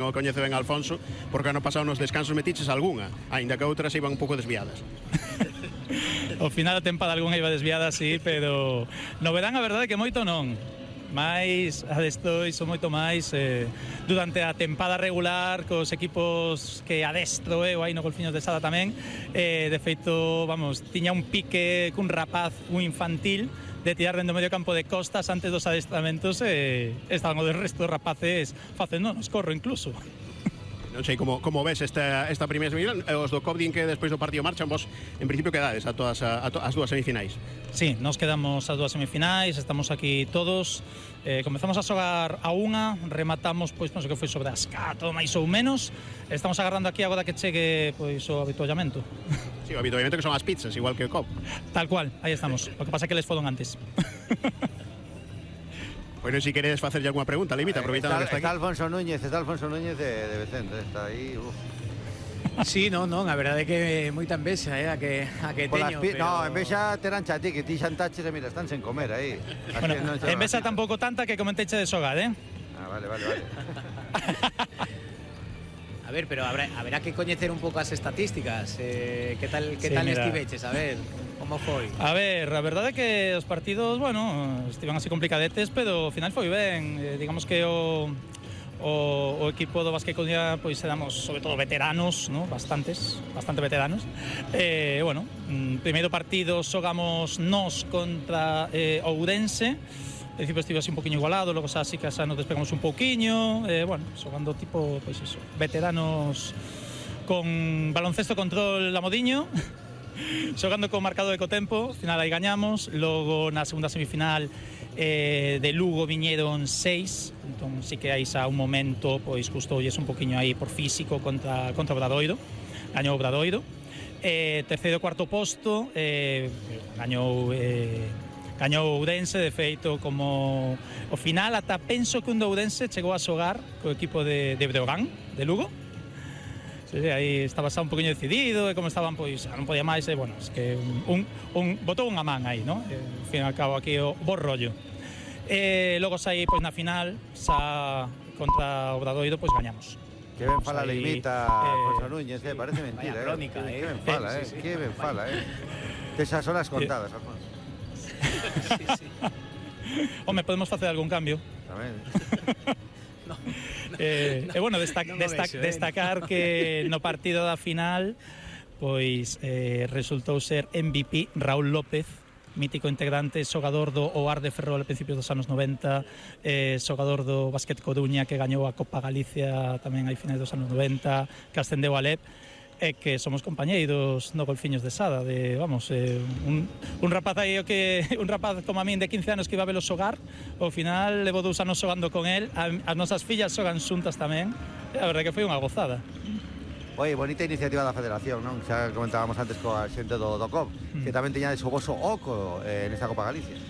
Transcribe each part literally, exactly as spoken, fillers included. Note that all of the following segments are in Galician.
O coñece ben Alfonso, porque ano pasado nos descansos metiches algunha, aínda que outras iban un pouco desviadas. Ao final da tempada algunha iba desviada, sí, pero no verán a verdade que moito non. Mais adesto iso moito máis eh, durante a tempada regular cos equipos que adestro eu eh, aí no Golfiños de Sada tamén, eh, de feito, vamos, tiña un pique cun rapaz, un infantil, de tirar dentro do medio campo de costas antes dos adestramentos e eh, estaban o del resto de rapaces facendo nos corro incluso. Non sei como, como ves esta, esta primeira semifinal. Os do C O B din que despois do partido marchan, vos en principio quedades a todas a, a to, as dúas semifinais. Sí, nos quedamos as dúas semifinais, estamos aquí todos, eh, comezamos a xogar a unha, rematamos, pois non sei que foi sobre as catro máis ou menos, estamos agarrando aquí agora que chegue pois o habituallamento. Sí, o habituallamento que son as pizzas, igual que o C O B. Tal cual, aí estamos, o que pasa é que les foron antes. Bueno, si queres facerlle alguna pregunta, Limita, aproveitando que está aquí. Está Alfonso Núñez, está Alfonso Núñez de, de Vicente, está aí, uf. Sí, non, non, a verdade é que moita envexa, eh, a que, a que teño, pero... No, envexa terán xa ti, que ti xantaches e mira, están sen comer aí. Bueno, envexa tampouco tanta que comenteche de xogar, eh? Ah, vale, vale, vale. A ver, pero habrá, habrá que coñecer un pouco as estatísticas, eh, que tal, que Sí, tal mira. estiveches, a ver, como foi? A ver, a verdade é que os partidos, bueno, estiven así complicadetes, pero ao final foi ben, eh, digamos que o... O, o equipo do Basque Coruña pois éramos sobre todo veteranos, ¿no? bastantes, bastante veteranos. Eh, bueno, mm, primeiro partido xogamos nós contra eh, Ourense. Al principio estive así un poquinho igualado, logo xa así que xa nos despegamos un pouquiño, eh, bueno, xogando tipo, pois eso, veteranos con baloncesto control a modiño. Xogando con marcador de cotempo, final aí gañamos, logo na segunda semifinal eh, de Lugo viñeron seis, entón sí que aí xa un momento pois custoulles un poquinho aí por físico contra, contra Obradoiro, gañou Obradoiro, eh, terceiro e cuarto posto, eh, gañou eh, gañou Ourense, de feito como o final ata penso que un do Ourense chegou a xogar co equipo de, de Breogán, de Lugo. Sí, aí estaba xa un poquinho decidido e como estaban, pois, non podía máis e, bueno, es que un, un, botou unha man aí, non? E, ao fin e ao cabo aquí o bo rollo. E logo xa aí, pois, na final, xa contra Obradoiro, pois, gañamos. Que ben fala Aí, Limita, eh, Alfonso Núñez, eh, parece mentira, vaya crónica, eh. eh. Que ben fala, eh, Sí, sí. que ben fala, eh. Tesas horas contadas, Alfonso. Sí, sí. Home, podemos facer algún cambio. Tamén. No, no, Eh, no, e, bueno, desta non o desta vexo, eh. destacar que no partido da final, pois, eh, resultou ser M V P Raúl López, mítico integrante, xogador do O A R de Ferrol a principios dos anos noventa, eh, xogador do Basket Coruña que gañou a Copa Galicia tamén a finais dos anos noventa, que ascendeu a L E P, e que somos compañeiros no Golfiños de Sada, de, vamos, eh, un, un rapaz aí o que un rapaz como a min de quince anos que iba a velo xogar, ao final levo dous anos xogando con el, a, as nosas fillas xogan xuntas tamén, e a verdade que foi unha gozada. Oye, bonita iniciativa da Federación, non? Xa comentábamos antes coa xente do, do C O B, que tamén teña o voso oco eh, nesta Copa Galicia.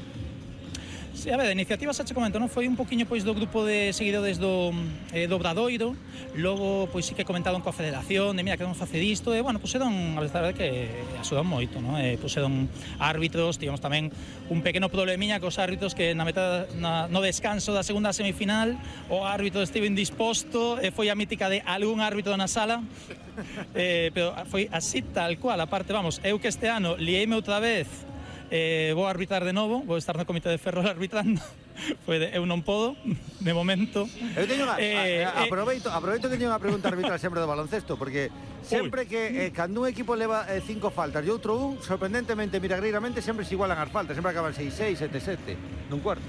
Sí, a ver, a iniciativa xa che comento, non? Foi un poquinho pois do grupo de seguidores do, eh, do Obradoiro, logo pois sí que comentaron coa Federación, de mira, queremos facer isto, e bueno, puseron, a verdade que axudan moito, non? E puseron árbitros, tivemos tamén un pequeno problemiña cos árbitros que na meta, na, no descanso da segunda semifinal, o árbitro estive indisposto, e foi a mítica de algún árbitro na sala, eh, pero foi así tal cual, aparte, vamos, eu que este ano liéime outra vez, Eh, vou arbitrar de novo, vou estar no comité de Ferrol arbitrando. Foi de, eu non podo, de momento. Eu teño unha, eh, a, a, aproveito, aproveito que teño unha pregunta arbitral sempre do baloncesto, porque sempre que eh, cando un equipo leva eh, cinco faltas e outro un, sorprendentemente, milagreiramente, sempre se igualan as faltas, sempre acaban seis seis, sete sete, nun cuarto.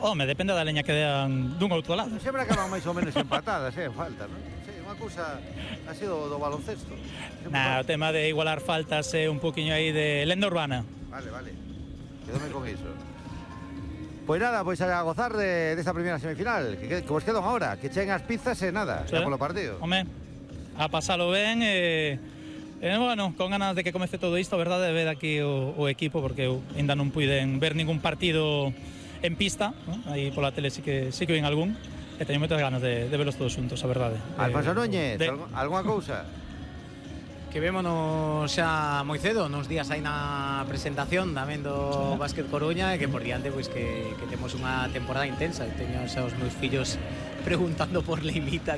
Home, depende da leña que dean dun outro lado. Sempre acaban máis ou menos empatadas, eh, en falta, non? Sí, unha cousa así do, do baloncesto. Nah, o tema de igualar faltas é un poquinho aí de lenda urbana. Vale, vale. Quédome con iso. Pois nada, pois a gozar de, desta primeira semifinal. Que, que, que vos quedan ahora, que cheguen as pizzas e nada, Sí. xa polo partido. Home, a pasalo ben e... Eh, bueno, con ganas de que comece todo isto, a verdade, de ver aquí o, o equipo, porque eu ainda non puiden ver ningún partido en pista, ¿no? Aí pola tele sí que, sí que ven algún, e teño moitas ganas de, de verlos todos juntos, a verdade. Alfonso Eh, Núñez, de... algo, algunha cousa? Que vémonos xa moi cedo, nos días aí na presentación tamén do Basket Coruña, e que por diante pois que, que temos unha temporada intensa. Teño xa os meus fillos preguntando por Limita, que